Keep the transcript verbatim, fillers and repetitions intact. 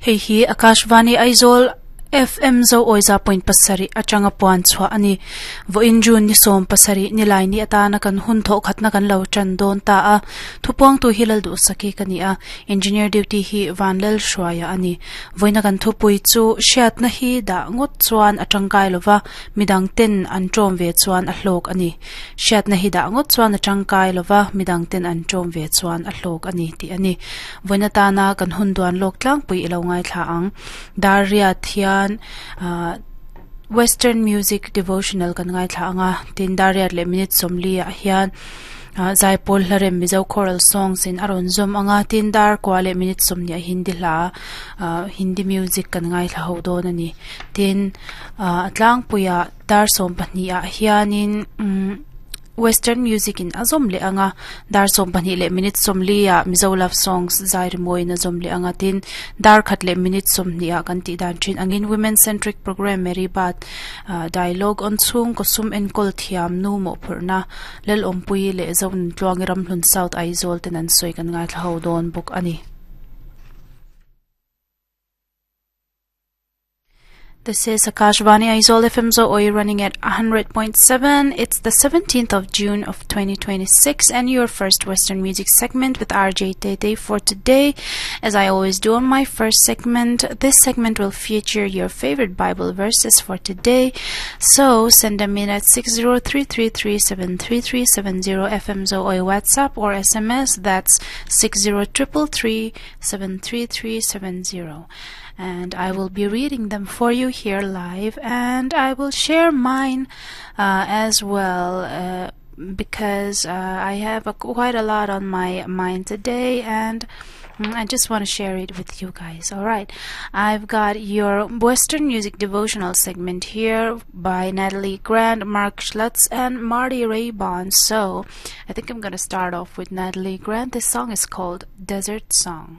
Hei hi Akashvani Aizawl F M zo oiza point pasari atanga puan chua ani vo in june ni som pasari ni lai ni atana kan hun tho khatna kan lo chan don ta a thupong tu hilal du saki kani a engineer duty hi vanlal shwaya ani voina kan thupui chu shiat na hi da ngot chuan atangkai lova midang ten an trom ve chuan a hlok ani shiat na hi da ngot chuan atangkai lova midang ten an trom ve chuan a hlok ani ti ani voina ta na kan hun duan lok tlang pui ilo ngai thla ang daria thian Uh, Western music devotional kan ngai thla anga tin dariat le minute somli a hian uh, zaipol hlarem mizo choral songs in aron zom anga tin dar kwa le minute somni a hindi hla uh, hindi music kan ngai thla ho don ani tin uh, atlang puya dar som pahnih a hianin um, Western music in azom le anga dar som pahnih le minute somli a mizo love songs zair moi na zom le anga tin dar khat le minute somni a kan ti dan thin angin women centric program Mary Bat uh, dialogue on chung kosum en kol thiam nu mo phurna lel ompui le zon tluang ram hlun South Aizawl ten an soi kan ngai thla ho don buk ani. This is Akashvani Aizawl F M Zo running at one hundred point seven. It's the seventeenth of June of twenty twenty-six and your first Western music segment with R J Tete for today. As I always do on my first segment, this segment will feature your favorite Bible verses for today. So send them in at six zero three three three seven three three seven zero F M Zo WhatsApp or S M S. That's six zero three three seven three three seven zero. And I will be reading them for you here live, and I will share mine uh, as well uh, because uh, I have a, quite a lot on my mind today, and I just want to share it with you guys. All right, I've got your Western music devotional segment here by Natalie Grant, Mark Schlutz, and Marty Raybon. So I think I'm going to start off with Natalie Grant. This song is called Desert Song.